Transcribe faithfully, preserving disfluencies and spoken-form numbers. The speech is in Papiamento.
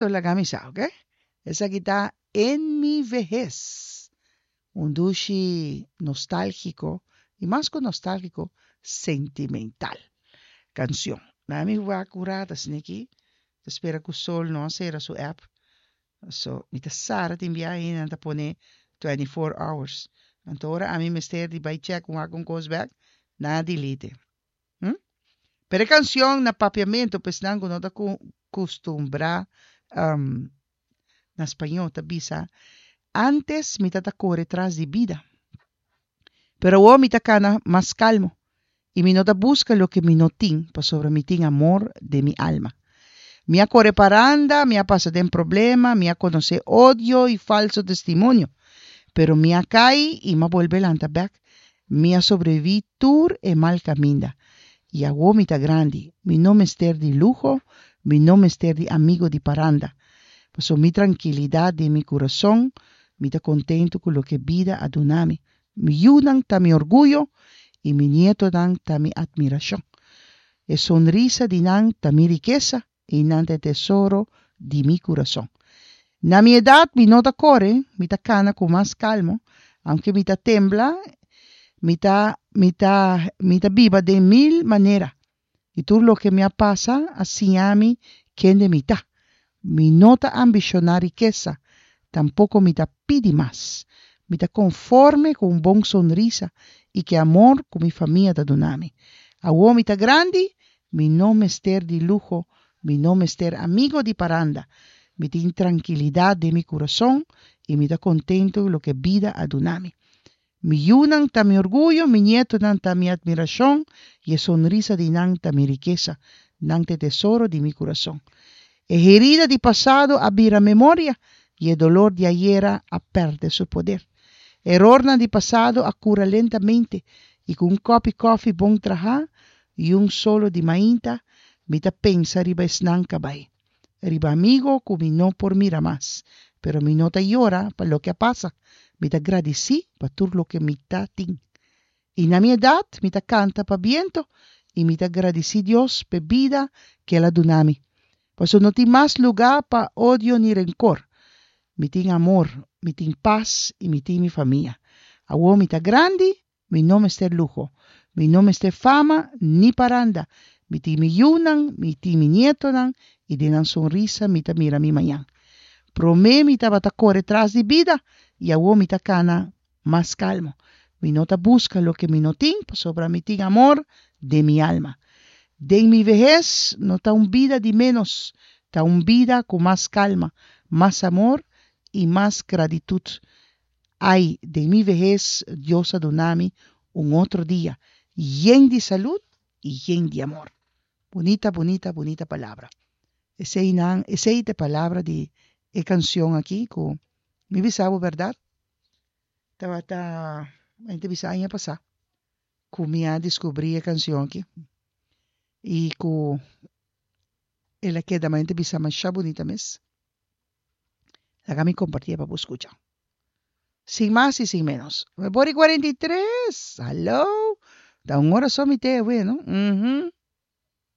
Laga mi sa, oké? Esaki ta En mi vejez. Un dushi nostálgiko i mas ku nostálgiko, sentimental kanshon. Na mi wak un rato asina aki, ta spera ku Sol no a sera su app. So, mi ta sara tin biaha ainda nan ta pone twenty four hours. Anto ora ami mester di bai check un wak un kos bek, nan a delete. Hm? Pero e kanshon na papiamentu pa esnan ku no ta kustumbrá na spañó ta bisa, Antes mi ta ta kore tras di bida, pero awor mi ta kana mas kalmo i mi no ta buska loke mi no tin pasobra mi tin amor den mi alma. Mi a kore paranda, mi a pasa den problema, mi a konosé odio i falso testimonio, pero mi a kai i m'a bolbe lanta bèk. Mi a sobreviví tur e mal kaminda i awor mi ta grandi. Mi no mester di luho, mi no mester di amigo di paranda. Pasobra mi trankilidat den mi kurason, mi ta kontentu ku loke bida a duna mi. Mi yunan ta mi orguyo i mi nietonan ta mi atmirashon. E sonrisa di nan ta mi rikesa i nan ta e tesoro di mi kurason. Na mi edat mi no ta kore, mi ta kana ku mas kalmo, aunke mi ta tembla, mi ta mi ta mi ta biba den mil manera. I tur loke mi a pasa a siña mi kende mi ta. Mi no ta ambishoná rikesa, tampoko mi ta pidi mas. Mi ta konforme ku un bon sonrisa i ku e amor ku mi famia ta duna mi. Awor mi ta grandi, mi no mester di luho, mi no mester amigo di paranda. Mi tin trankilidat den mi kurason i mi ta kontentu ku loke bida a duna mi. Mi yunan ta mi orguyo, mi nietonan ta mi admirashon i e sonrisa di nan ta mi rikesa. Nan ta e tesoro di mi kurason. E herida di pasado a bira memoria i e dolor di ayera a pèrdè su poder. Erornan di pasado a kura lentamente i ku un kòpi kòfi bon trahá i un solo di mainta mi ta pensa riba esnan ka bai. Riba amigo ku mi no por mira mas, pero mi no ta yora pa loke a pasa, mi ta gradisí pa tur loke mi ta tin. I na mi edat mi ta kanta pa biento i mi ta gradisí Dios p'e bida ku el a duna mi. Pasobra no tin mas lugá pa odio ni renkor. Mi tin amor, mi tin pas i mi tin mi famia. Awor mi ta grandi, mi no mester luho, mi no mester fama ni paranda. Mi tin mi yunan, mi tin mi nietonan i den nan sonrisa mi ta mira mi mañan. Promé mi tabata kore tras di bida i awor mi ta kana mas kalmo. Mi no ta buska loke mi no tin pasobra mi tin amor den mi alma. Den mi vehes no ta un bida di ménos, ta un bida ku mas kalma, mas amor i mas gratitut. Ai, den mi vehes Dios a duna mi un otro dia yen di salud i yen di amor. Bunita, bunita, bunita palabra. Eseinan, esei ta e palabra di e kanshon aki ku mi bisa bo bèrdat, tabata, mi ta bisa aña pasá ku mi a diskubrí e kanshon aki i ku el a keda mi ta bisa masha bunita mes. Laga mi kompartié pa bo skucha. Sin mas i sin ménos. Nuebe ora i kuarenta i tres! Hallo! Ta un ora so mi te awe, no? Uhum.